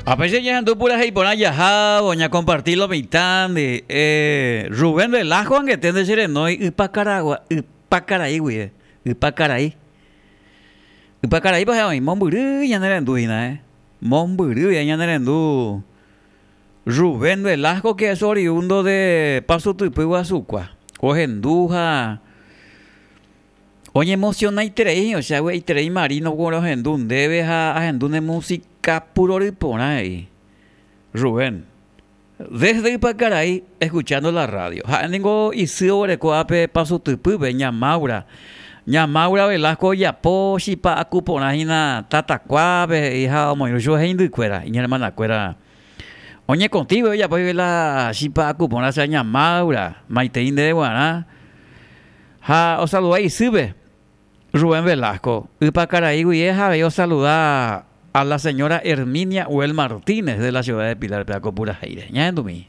A veces ñahendu purahéi porã jahávo ñakomparti lo mitãndi. Eh, Rubén Velasco angete nde che renói Ypakaragua, Ypakarai guive, Ypakarai. Ypakaraípa he'õ oĩ mombyry ñane rendu hína, eh. Mombyry ñane rendu Rubén Velasco que es oriundo de Paso Typy Guasukua. Ohendu ha Oñemocionaiterei osea vy'aiterei Marino ko rohendu ndéve ha ahendu ne música purory porã he'i Rubén. Desde Ypakarai escuchando la radio. Ha'e ningo isy oguereko ápe Pasutypýpe, Ña Maura. Ña Maura Velasco ojapo chipa aku porã hína tatakuápe he'i ha omoirũ chupe heindykuéra, iñermanakuéra. Oñekotĩve ojapo hikuái la chipa aku porã osea Ña Maura, maitei ndéve guarã. Ha osaluda isýpe, Rubén Velasco, Ypakarai guive ha avei osaluda a la señora Herminia Huel Martínez de la ciudad de Pilar-pe ako purahéire. Ñahendumi.